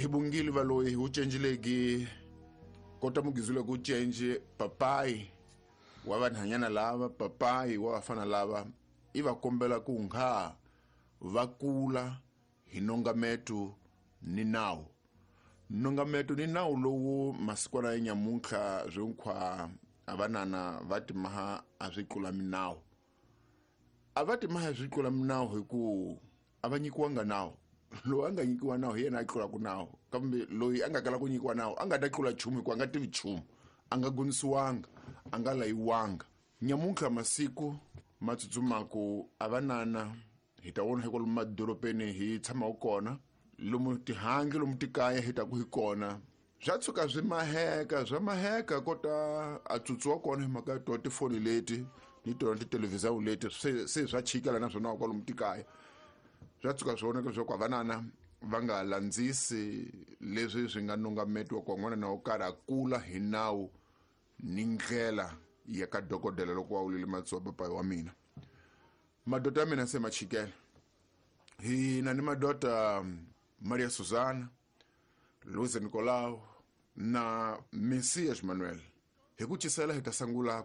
Hi bungile valoyi wu cenjilegi kota mugizule ku cenje papayi wa vanhanyana lava, papayi wa vafana lava, i va kombela ku nga va kula hi nongameto ni nawu. Nongameto ni nawu lowu masikwana ya nyamuntlha swinkhwa a vanana va timaha a swi tlula minawu. A va timaha swi tlula minawu hi ku a va nyikiwanga nawu. Loyi a nga nyikiwa nawu hi yena a tlulaka nawu, kambe loyi a nga kala ku nyikiwa nawu a nga ta tlula nchumu hikuva a nga tivi nchumu, a nga gonisiwanga, a nga layiwanga. Nyamuntlha masiku ma tsutsumaku a vanana hi ta vona hi kwalomu madorobeni hi tshamaka kona, lomu tihangi lomu tikaya hi taku hi kona, swa tshuka swi maheka, swa maheka kota a tsutsu wa kona hi mhaka ya tona tifoni leti ni tona titelevhizani leti se swa chikela na swona kwalomu tikaya. Swa tshuka swi vonaka leswaku vanana va nga landzisi leswi swi nga nongametiwa ku n'wana na wo karhi a kula hi nawu ni ndlela ya ka dokodela loko wa wulile matsuwa papayi wa mina. Madoda ya mina se ma chikela. Hi na ni madoda Maria Susana, Luiz Nicolau na Messias Manuel. Hi ku cisela hi ta sungula